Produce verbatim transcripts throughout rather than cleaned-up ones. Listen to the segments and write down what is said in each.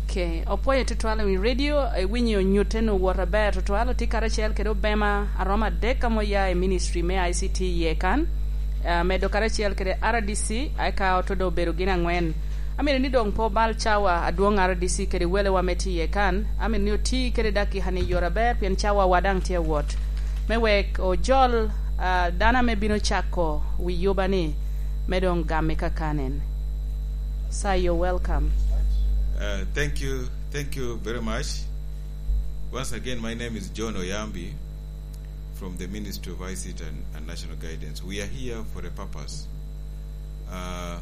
Okay, opwoyo tutwal i radio, iwinyo nyutte nu wot aber tutwal, otye karacel kede obema aromo adek ame oya i ministry me I C T iye kan, ah, medo karacel kede R D C, eka oto doŋ obedo gin angwen. Amito ni doŋ pe obal cawa adwoŋ R D C kede welewa me tye iye kan, amito ni oti kede dakika ni i yore aber pien cawawa daŋ tye awot. Me wek ojol, ah, dano ame bino cako wi yuba ni, me doŋ gamme kakanen. Sir, you're welcome. Uh, thank you. Thank you very much. Once again, my name is John Oyambi from the Ministry of I C T and, and National Guidance. We are here for a purpose. Uh,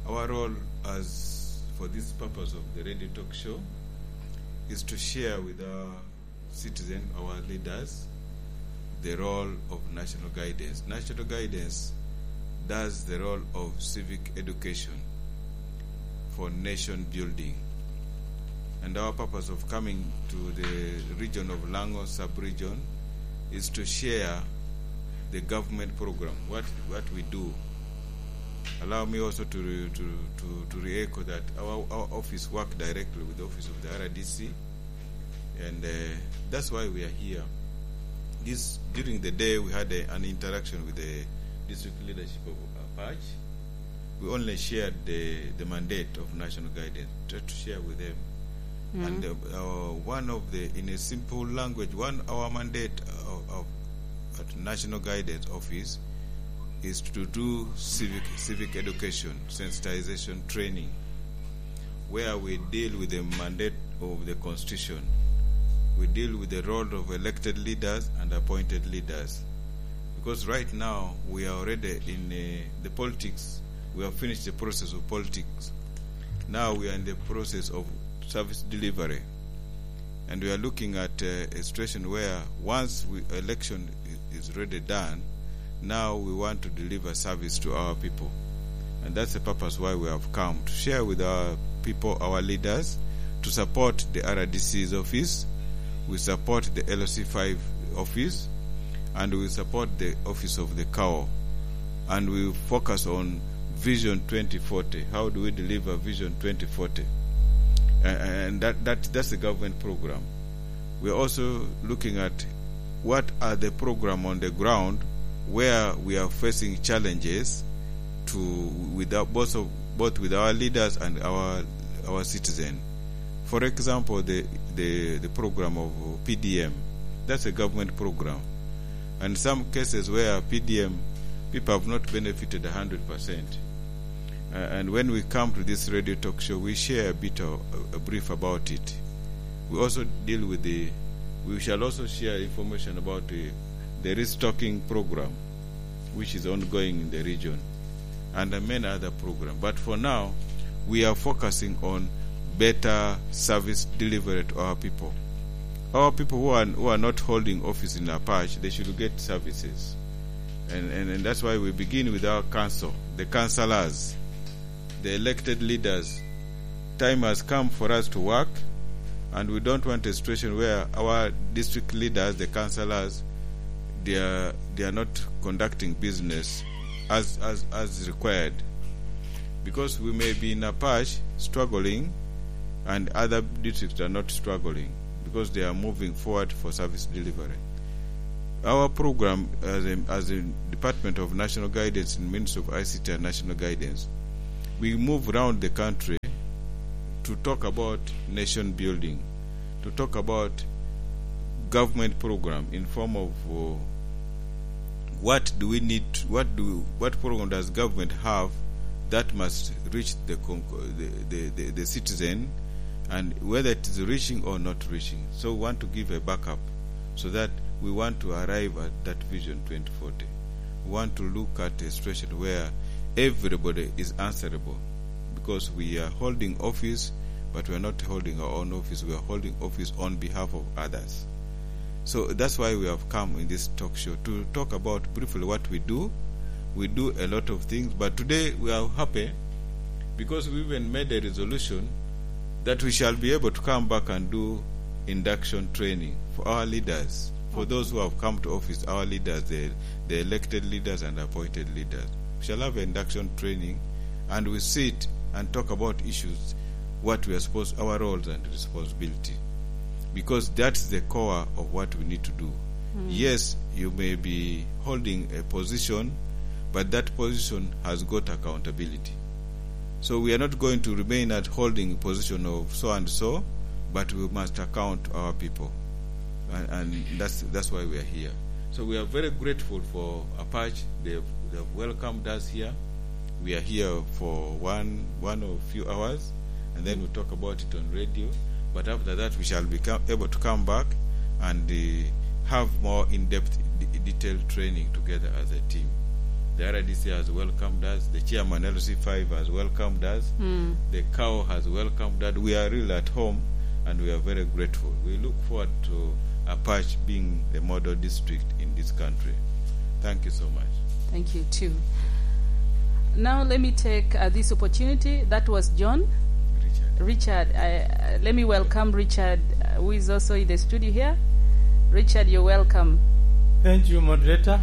our role as for this purpose of the radio talk show is to share with our citizen, our leaders, the role of national guidance. National guidance does the role of civic education for nation building. And our purpose of coming to the region of Lango sub-region is to share the government program, what, what we do. Allow me also to re-, to, to, to re-echo that our, our office work directly with the office of the R D C, and, uh, that's why we are here. This, during the day, we had a, an interaction with the district leadership of Apache. We only shared the, the mandate of national guidance, tried to share with them. And, uh, uh, one of the, in a simple language, one, our mandate of, of, at National Guidance Office is to do civic, civic education, sensitization training, where we deal with the mandate of the Constitution. We deal with the role of elected leaders and appointed leaders. Because right now, we are already in, uh, the politics. We have finished the process of politics. Now we are in the process of service delivery. And we are looking at, uh, a situation where once we, election i-, is already done, now we want to deliver service to our people. And that's the purpose why we have come, to share with our people, our leaders, to support the R D C's office. We support the L C five office, and we support the office of the CAO. And we focus on Vision twenty forty. How do we deliver Vision twenty forty? A-, and that, that, that's the government program. We are also looking at what are the program on the ground where we are facing challenges to, with our, both of, both with our leaders and our, our citizen. For example, the, the, the program of P D M, that's a government program. And some cases where P D M, people have not benefited a hundred percent. Uh, and when we come to this radio talk show, we share a bit of, a, a brief about it. We also deal with the, we shall also share information about the, the restocking program, which is ongoing in the region, and, uh, many other programs. But for now, we are focusing on better service delivery to our people. Our people who are, who are not holding office in Apache, they should get services. And, and, and that's why we begin with our council, the councillors, the elected leaders. Time has come for us to work, and we don't want a situation where our district leaders, the councillors, they are, they are not conducting business as, as, as required. Because we may be in Apache struggling, and other districts are not struggling because they are moving forward for service delivery. Our program as a, as a Department of National Guidance in Ministry of I C T and National Guidance, we move around the country to talk about nation building, to talk about government program in form of, uh, what do we need, what do, what program does government have that must reach the con-, the, the, the, the citizen, and whether it is reaching or not reaching. So we want to give a backup so that we want to arrive at that Vision twenty forty. We want to look at a situation where everybody is answerable, because we are holding office, but we are not holding our own office. We are holding office on behalf of others. So that's why we have come in this talk show to talk about briefly what we do. We do a lot of things, but today we are happy because we even made a resolution that we shall be able to come back and do induction training for our leaders, for those who have come to office, our leaders, the, the elected leaders and appointed leaders. We shall have induction training, and we sit and talk about issues. what we are supposed, our roles and responsibility, because that's the core of what we need to do. Mm. Yes, you may be holding a position, but that position has got accountability. So we are not going to remain at holding position of so and so, but we must account our people. And, and that's, that's why we are here. So we are very grateful for Apache. They've, they've welcomed us here. We are here for one, one or few hours, and then we'll talk about it on radio. But after that, we shall be able to come back and, uh, have more in-depth, d-, detailed training together as a team. The R D C has welcomed us. The chairman, L C five, has welcomed us. Mm. The cow has welcomed us. We are really at home, and we are very grateful. We look forward to Apache being the model district in this country. Thank you so much. Thank you too. Now let me take, uh, this opportunity. That was John. Richard. Richard, I, uh, let me welcome Richard, uh, who is also in the studio here. Richard, you're welcome. Thank you, moderator.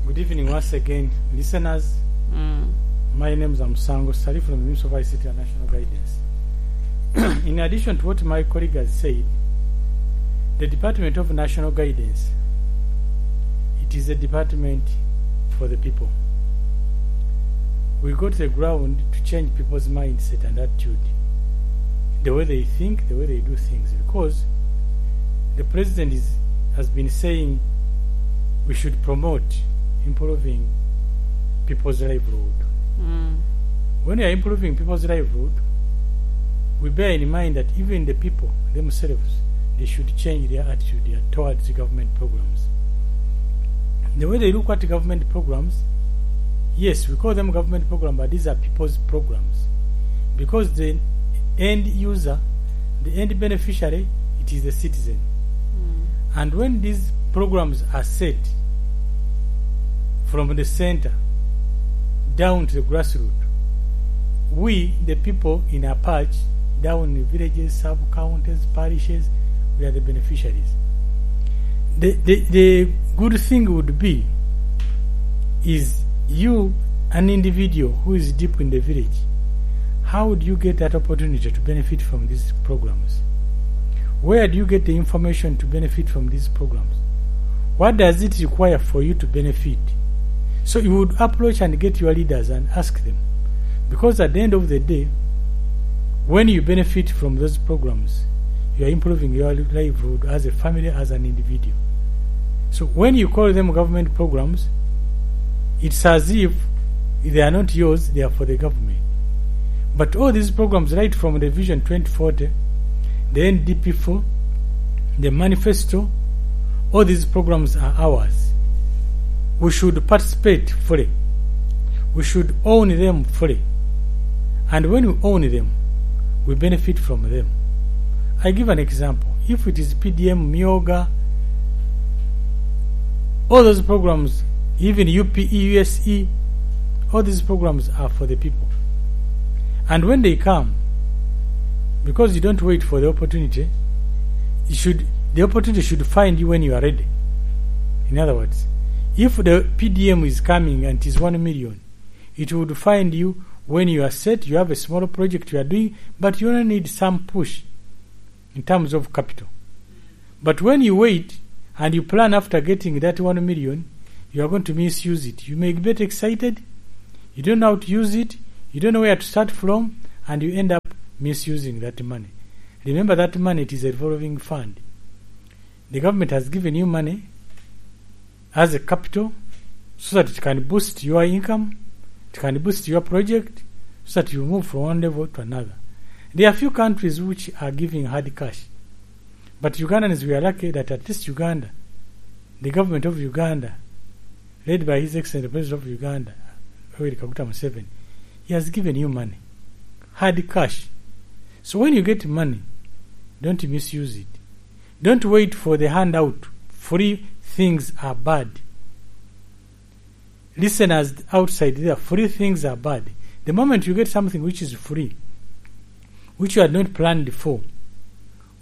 Good evening once again, listeners. Mm. My name is Amusango Sali from the Municipal Vice City and National Guidance. In addition to what my colleague has said, the Department of National Guidance, it is a department for the people. We go to the ground to change people's mindset and attitude, the way they think, the way they do things, because the president is, has been saying we should promote improving people's livelihood. Mm. When we are improving people's livelihood, we bear in mind that even the people themselves, they should change their attitude, yeah, towards the government programs. The way they look at government programs, yes, we call them government program, but these are people's programs. Because the end user, the end beneficiary, it is the citizen. Mm. And when these programs are set from the center down to the grassroots, we, the people in Apache, down in villages, sub-counties, parishes, we are the beneficiaries. The, the, the good thing would be is you, an individual who is deep in the village, how would you get that opportunity to benefit from these programs? Where do you get the information to benefit from these programs? What does it require for you to benefit? So you would approach and get your leaders and ask them. Because at the end of the day, when you benefit from those programs, you are improving your livelihood as a family, as an individual. So when you call them government programs, it's as if they are not yours, they are for the government. But all these programs, right from the Vision twenty forty, the N D P four, the manifesto, all these programs are ours. We should participate fully. We should own them fully. And when we own them, we benefit from them. I give an example. If it is P D M, Myoga, all those programs, even U P E, U S E, all these programs are for the people. And when they come, because you don't wait for the opportunity, it should, the opportunity should find you when you are ready. In other words, if the P D M is coming and it is one million, it would find you when you are set, you have a small project you are doing, but you only need some push in terms of capital. But when you wait and you plan after getting that one million, you are going to misuse it. You may get excited, you don't know how to use it, you don't know where to start from, and you end up misusing that money. Remember that money, it is a revolving fund. The government has given you money as a capital so that it can boost your income, it can boost your project, so that you move from one level to another. There are few countries which are giving hard cash. But Ugandans, we are lucky that at least Uganda, the government of Uganda, led by His Excellency the President of Uganda, Yoweri Kaguta Museveni, he has given you money, hard cash. So when you get money, don't misuse it. Don't wait for the handout. Free things are bad. Listeners outside there, free things are bad. The moment you get something which is free, which you had not planned for,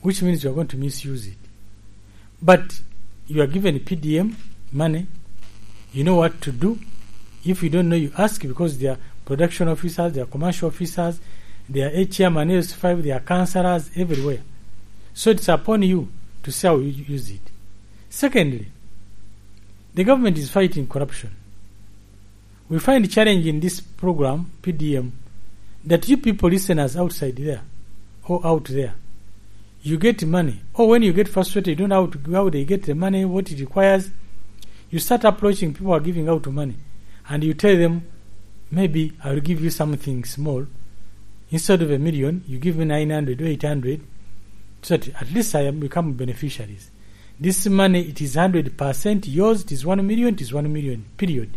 which means you are going to misuse it. But you are given P D M money, you know what to do. If you don't know, you ask, because they are production officers, they are commercial officers, They are H R, they are S five, they are counselors everywhere. So it's upon you to see how you use it. Secondly, the government is fighting corruption. We find challenge in this program, P D M, that you people listeners outside there or out there, you get money. Or when you get frustrated, you don't know how to, how they get the money, what it requires. You start approaching people who are giving out money, and you tell them, "Maybe I will give you something small. Instead of a million, you give me nine hundred or eight hundred, so that at least I am become beneficiaries. This money, it is hundred percent yours, it is one million, it is one million, period."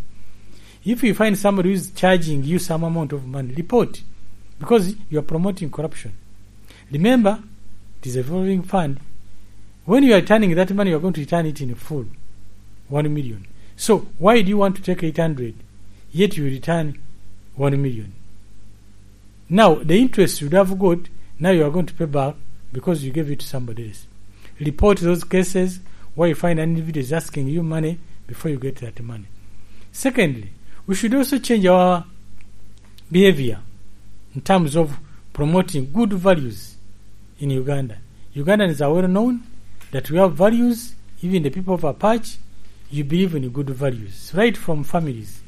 If you find somebody who is charging you some amount of money, report, because you are promoting corruption. Remember, it is a revolving fund. When you are returning that money, you are going to return it in full, one million. So why do you want to take eight hundred, yet you return one million? Now, the interest you would have got, now you are going to pay back because you gave it to somebody else. Report those cases where you find an individual is asking you money before you get that money. Secondly, we should also change our behavior in terms of promoting good values in Uganda. Ugandans are well known that we have values. Even the people of Apache, you believe in good values, right from families.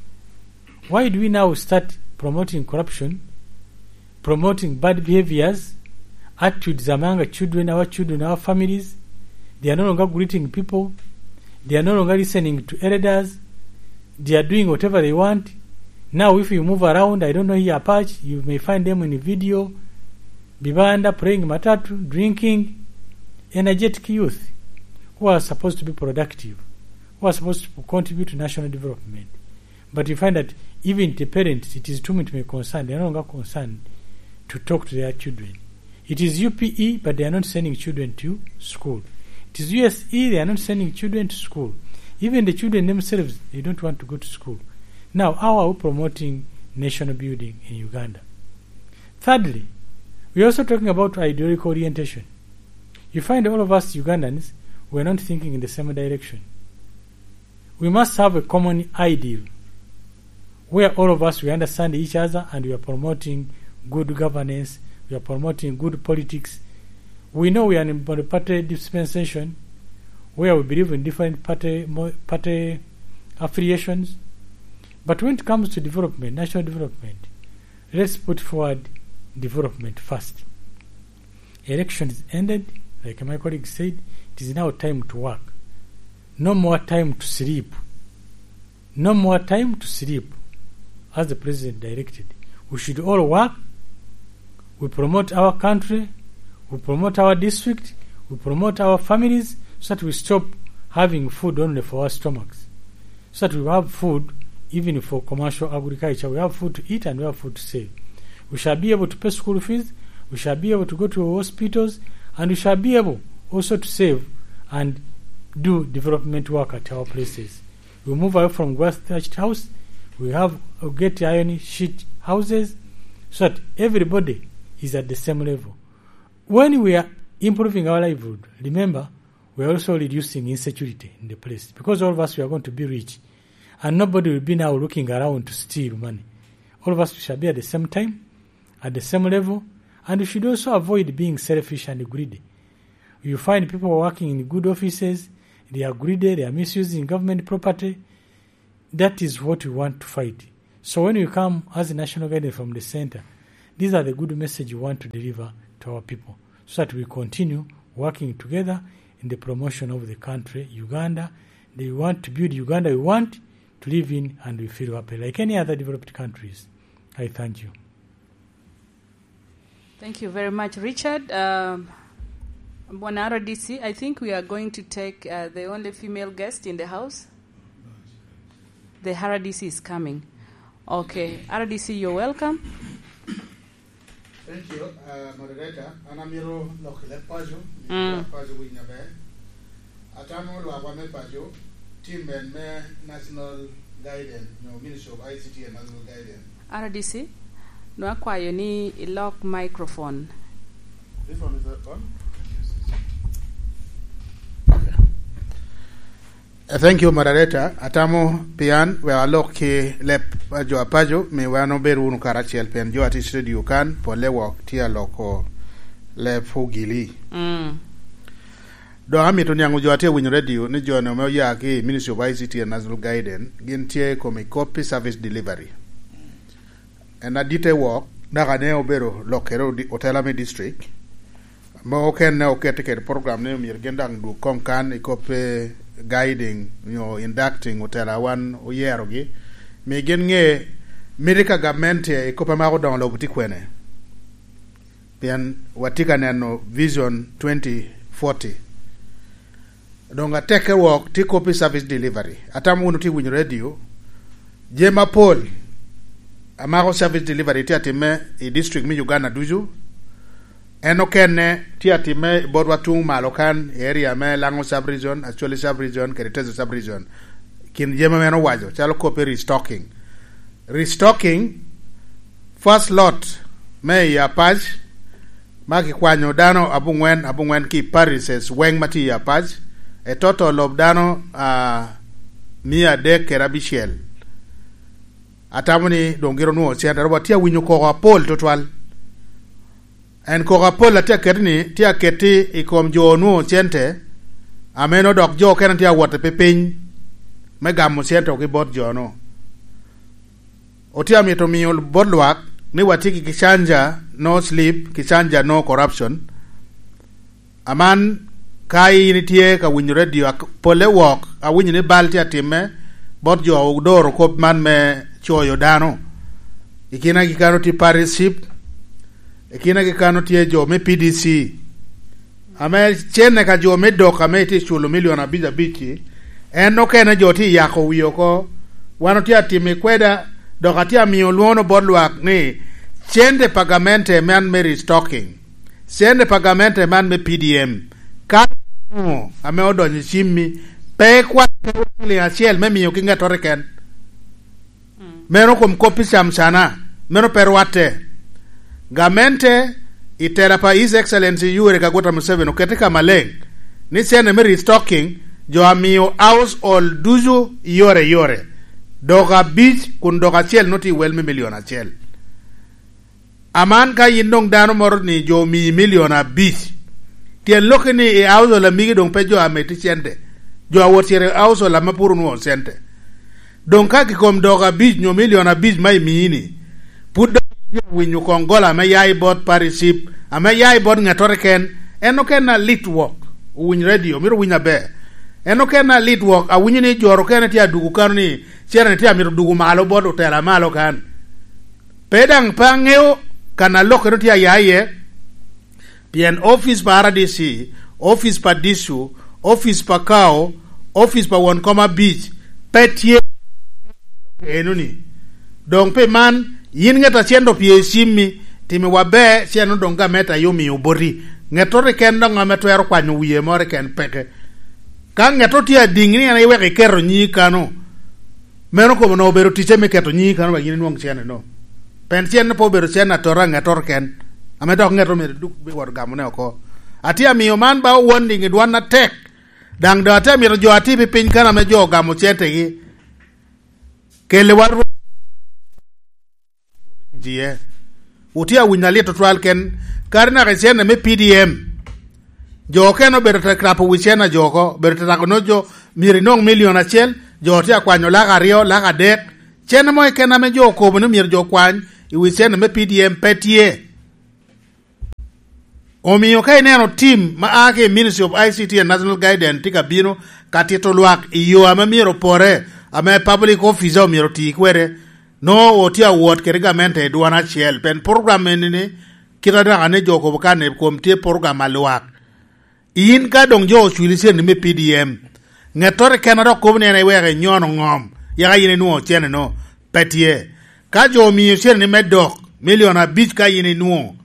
Why do we now start promoting corruption, promoting bad behaviors, attitudes among our children, our children, our families? They are no longer greeting people. They are no longer listening to elders. They are doing whatever they want. Now, if you move around, I don't know here Apache, you may find them in video, Bibanda, playing matatu, drinking. Energetic youth who are supposed to be productive, who are supposed to contribute to national development. But you find that even the parents, it is too much my concern. They are no longer concerned to talk to their children. It is U P E, but they are not sending children to school. It is U S E, they are not sending children to school. Even the children themselves, they don't want to go to school. Now, how are we promoting national building in Uganda? Thirdly, we are also talking about ideological orientation. You find all of us Ugandans, we are not thinking in the same direction. We must have a common ideal where all of us, we understand each other and we are promoting good governance, we are promoting good politics. We know we are in a party dispensation where we believe in different party, mo-, party affiliations. But when it comes to development, national development, let's put forward development first. Election is ended. Like my colleague said, it is now time to work. No more time to sleep. No more time to sleep, as the president directed. We should all work. We promote our country. We promote our district. We promote our families so that we stop having food only for our stomachs, so that we have food even for commercial agriculture. We have food to eat and we have food to save. We shall be able to pay school fees, we shall be able to go to hospitals, and we shall be able also to save and do development work at our places. We move away from grass thatched house, we have, we get iron sheet houses, so that everybody is at the same level. When we are improving our livelihood, remember, we are also reducing insecurity in the place, because all of us, we are going to be rich, and nobody will be now looking around to steal money. All of us, we shall be at the same time, at the same level, and we should also avoid being selfish and greedy. You find people working in good offices, they are greedy, they are misusing government property. That is what we want to fight. So when we come as a national guidance from the center, these are the good message we want to deliver to our people, so that we continue working together in the promotion of the country, Uganda. They want to build Uganda we want to live in, and we feel happy like any other developed countries. I thank you. Thank you very much, Richard. Um, Bwana R D C, I think we are going to take, uh, the only female guest in the house. The R D C is coming. Okay, R D C, you're welcome. Thank you, uh, moderator. An amito lok i leb paco, mm, paco winyo ber. Atamo lwakwa me paco, team en me National Guidance, nyo Ministry of I C T and National Guidance. R D C, nwa kwayo ni ilok microphone. This one is on? Okay. Thank you, moderator. Atamo pian wek alok ki leb a jo apaco, mi wan obed wunu karacel, pien jo a tye i studio kan, polle wok tye aloko leb Ogili. Mm. Dok amito niaŋ jo a tye winyo radio ni jo-ni ame oya ki Ministry of I C T and National Guidance, gin tye i kom i copy service delivery. En adit e wok, dok ane obedo lokkere odi-, otela me district. Mo okene okete kede program ni myero gin daŋ dwog koŋ kan i kop, eh, guiding nyo inducting otela wan oyerogi. Mi gin ŋe miti ka gamente i kop ame odoŋo lobo tye kwene. Pien watye ka neno Vision twenty forty. Doŋ atekke wok tye kop i service delivery. Atamo wunu tye winyo radio. Jami apol amako service delivery tye atimme i district me Uganda ducu. En okene tye atimme i botwa tuŋ malo kan, i area me Lango sub-region, Acholi sub-region, kede Teso sub-region. Kin jami ame en owaco, calo kop i restocking. Restocking, first lot me i Apac, ma kikwanyo dano abungwen, abungwen ki parishes weŋ ma tye i Apac, etoto lob dano, ah, mia adek kede abicel. Atamo ni doŋ gin onwoŋo cente, watye awinyo koko apol tutwal. En koko apol atye aketi ni, tye aketi i kom jo onwoŋo cente, ame nwoŋo dok jo okene tye awot i piny me gamo cente ki bot jo-nu. Otye amito miyo bot lwak ni watye ki Kicanja No Sleep, Kicanja No Corruption. Aman, ka in itye ka winyo radio, ak-, polle wok, awinyo ni bal tye atimme bot jo odoro kop man me coyo dano. I kinagi kano tye Paris Ship, i kinagi kano tye jo me P D C. Ame cene ka jo me dok ame itye culo milion abic abic-ci, en okene jo tye yako wie oko. Wan otye atimo i kweda, dok atye amiyo lwono bot lwak ni cente pa gamente man me restocking, cente pa gamente man me P D M, ka ame odonyo i cimmi, pe ikwan ciling acel me miyo ki ŋettoro keken. Meno kom kop i cam cana, meno pe rwatte. Gamente i tela pa His Excellency Yoweri Kaguta Museveni okete ka maleng ni cene me restocking jo a miyo household ducu i yore i yore, dok abic kun dok acel nwoŋo tye i wel me milion acel. Aman ka yin doŋ dano moro ni jo omii milion abic, tyen lokke ni i household a migi doŋ pe jo a meti cente, jo a wot cito i household ame pwod onwoŋo cente. Doŋ ka kikom dok abic nyo milion abic ma imii-ni, pwod doŋ itye winyo koŋ gola ame ya i bot Paris Ship, ame ya i bot ŋettoro keken, en okene alit wok, owiny radio, myero owiny aber. En okene alit wok, awinyo ni jo okene tye adwogo kano ni cene tye amito dwogo malo bot otela malo kan. Pe daŋ pe aŋeo kan a lokkere tye aya iye, pien opic pa R D C, opic pa dicu, opic pa kao, opic pa won kom abic pe tye enoni. Doŋ pi man, yin ŋet a cen opye i cimmi, timo wa ber, cen doŋ gamente aye omio boti. Ŋettoro keken doŋ ame twero kwanyo wie moro keken peke. Ka ŋettoro tye adiŋ ni en iweko iketo nyingi kano, meno kobo onwoŋo obedo ticce me keto nyingi kano wek yin inwoŋ cene-no. Pien cene pe obedo cene atota, ŋettoro keken, ame dok ŋettoro myero duk biwoto gamone oko. Atye amiyo man ba owon liŋ i dwan atek, daŋ doŋ atye amito jo a tye pi piny kano ame jo ogamo centegi, kelle wan rweny iye. Wutye awinyo alit tutwal ken, kadi naka i cene me P D M. Jo okene obedo te krapo wi cene a jo oko, obedo te rako no jo myero inwoŋ milion acel, jo tye akwanyo lak aryo, lak adek. Cene mo keken ame jo okobo ni myero jo okwany i wi cene me P D M pe tye. Omio ka ineno tim ma a ki i Ministry of I C T and National Guidance tye ka bino ka tito lwak i yo ame myero opore, ame public officer omyero oti kwede, nwoŋo otye awot kede gamente i dwan acel. Pien program eni-ni, kit a dok ane jo okobo kan i kom tye program a lwak. In ka doŋ jo ocwili cen me P D M, ŋettoro keken a dok kobo ni en iweko inyono ŋom, yaka yin inwoŋo cene-no, pe tye. Ka jo omio cene-ni me dok, milion abic ka yin inwoŋo,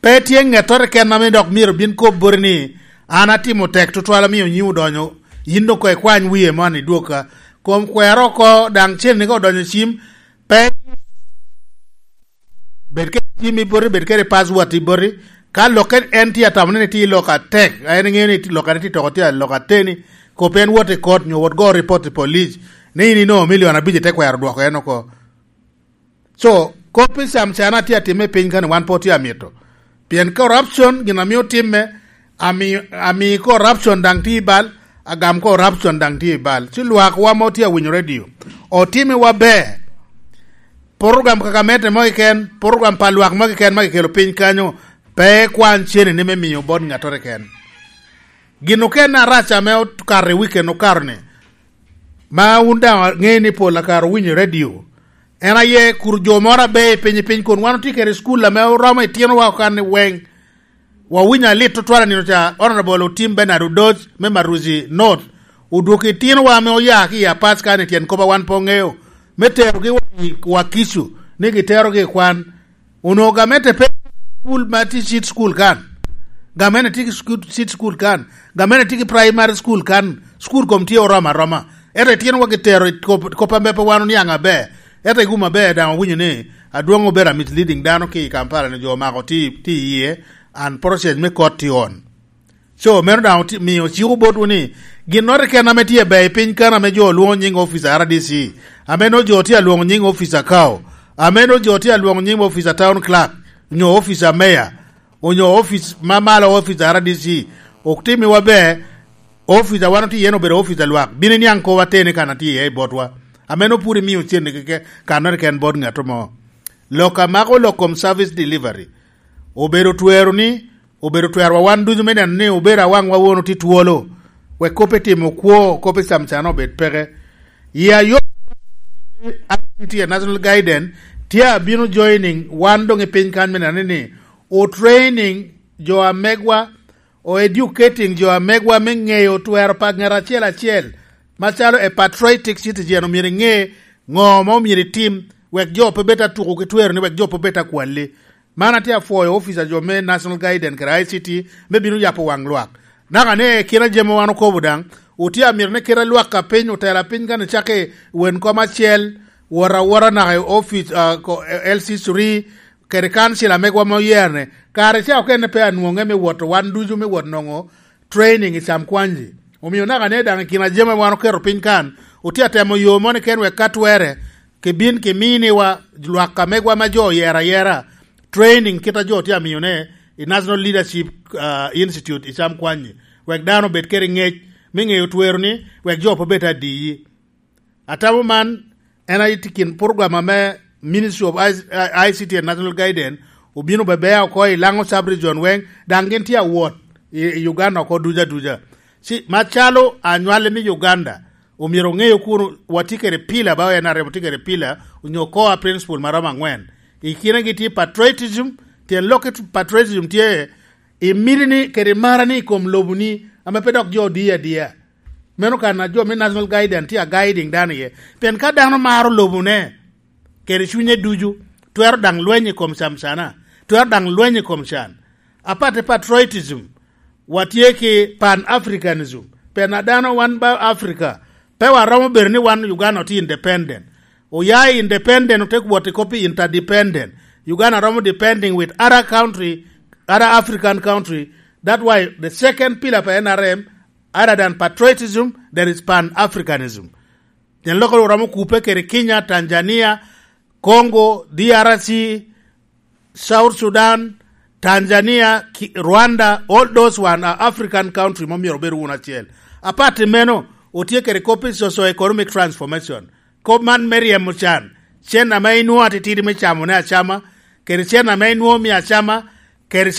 pe tye ŋettoro keken ame dok myero bin kop boti ni, "An atimo tek tutwal, amio nyiŋ odonyo, yin doŋ koŋ ikwany wie man idwogga." Kom kwero oko, daŋ cen-ni ka odonyo i cim, pe bed kede cim i boti, bed kede password i boti. Ka lokke en tye atamo ni tye lok atek, en ŋeo ni lokkene tye toko tye lok ateni, Kop en wot i kot nyo wot go report i police ni in ino milion abic ite kwero dwoko en oko. So, kop i sam can atye atime piny kani wan po tye amito. Pien corruption gin amio timme, ami, ami corruption daŋ tye i bal, agam corruption daŋ tye i bal. Ci lwak wa mo tye awinyo radio. Otime wa ber. Program kaka mete mo kiken, program pa lwak mo kiken ma kikelo piny kanyo, pe kwan cene ni me miyo bot ngatore ken. Gin okene arac ame okato i weekend okato ni, ma wun daŋ aŋeyo ni pol akaro winyo i radio. En aye kur jo moro abe i piny, i piny kun wan otye kede i cukul ame oromo itinowa okanni weng. Wawinyo alit tutwal anino ca, Honorable Otim Bernard Odoc me Maruzi North, odwoko itinowa ame oya ki i Apac kan i tyen kop a wan pe oŋeo, me terogi wa i Wakicu, ni giterogi i kwan. Onwoŋo gamente pe cukul ma tye cit cukul kan. Gamente tye ki sku-, cit cukul kan. Gamente tye ki primary cukul kan. Cukul kom tye oromo aroma. Ento itinowa gitero i kop, kop ame pe wan oniaŋ aber. Ento i gum aber daŋ owinyo ni adwoŋ obedo a misleading dano ki i Kampala ni jo omako tye, tye iye. And process me kot tye on. So, meno daŋ oti-, mio ciko botwu ni, ginnoro keken ame tye ber i piny kan ame jo olwoŋo nyiŋ office a R D C, ame nwoŋo jo tye alwoŋo nyiŋ office a Kao, ame nwoŋo jo tye alwoŋo nyiŋ office a town clerk, onyo office a mayor, onyo office ma malo, office a R D C, ok timmiwa ber, office a wan otye iye-ni obedo office a lwak, bino iniaŋ kop ateni kan atye iye i botwa, ame nwoŋo pwod imio cente keke, kannoro keken bot ŋat mo. Lok a mako lok kom service delivery, obedo twero ni, obedo twerowa wan ducu me neno ni obedo awaŋwa won otye twolo, wek kop etimo kwo, kop ecamcana obed peke. I ayo I C T a National Guidance tye abino joining wan doŋ i piny kan me neno ni o training jo amegwa, o educating jo amegwa me ŋeyo twero pa ŋat acel acel, macalo a patriotic citizen omyero iŋe ŋo ma omyero itim, wek jo pe bed atuko ki twero ni wek jo pe bed akwalli. Man atye apwoyo ofica jo me National Guidance kede I C T me bino yabo waŋ lwak. Naka ni kite a jami wan okobo daŋ, otye amito ni kite lwak a piny, otela piny kan icakki wen kom acel, wot awota naka i ofic, ah, ko-, L C three, kede kancil amegwa ma oyerne, kare ca okene pe anwoŋe me wot wan ducu me wot nwoŋo training i cam kwanji. Omio naka ne daŋ i kin a jami wan oketo piny kan, otye atemo yo moni ken wek ka twere, kibin kiminiwa lwak amegwa ma jo oyero ayera, training kit a jo tye amiyone i National Leadership, ah, Institute i cam kwanyi, wek dano obed kede ŋec me ŋeyo twero ni, wek jo pe bed adiyi. Atamo man en aye tye kin program ame Ministry of I-, I C T and National Guidance obino bebea oko i Lango Sub-Region weŋ, daŋ gin tye awot i, i Uganda oko duca duca. Ci, macalo anywale me Uganda, omyero oŋeyo kun watye kede pila, ba en arem otye kede pila, onyo core principle ma romo angwen. I kinegi tye patriotism, tyen lok i patriotism tye, imiti ni kede marani i kom lobo ni, ame pe dok jo odiyo adiya. Meno kan a jo me National Guidance tye a guiding dano iye. Pien ka dano maro lobone, kede cunye ducu, twero daŋ lweny i kom camcana, twero daŋ lweny i kom can. Aparte patriotism, watye ki Pan-Africanism. Pien a dano wan ba Africa, pe waromo bedo ni wan Uganda otye independent. Oya i independent, ote wot i kop i interdependent. Uganda romo depending with other country, other African country. That's why the second pillar pa N R M, other than patriotism, there is Pan-Africanism. Pien lok oromo kupe kede Kenya, Tanzania, Congo, D R C, South Sudan, Tanzania, Ki-, Rwanda, all those one are African country ma myero obed wun acel. Apart i meno, otye kede kop i socio-economic transformation. Kop man me ryemo can, cen ame inwoŋo atitidi me camone acama, kede cen ame inwoŋo mio acama, kede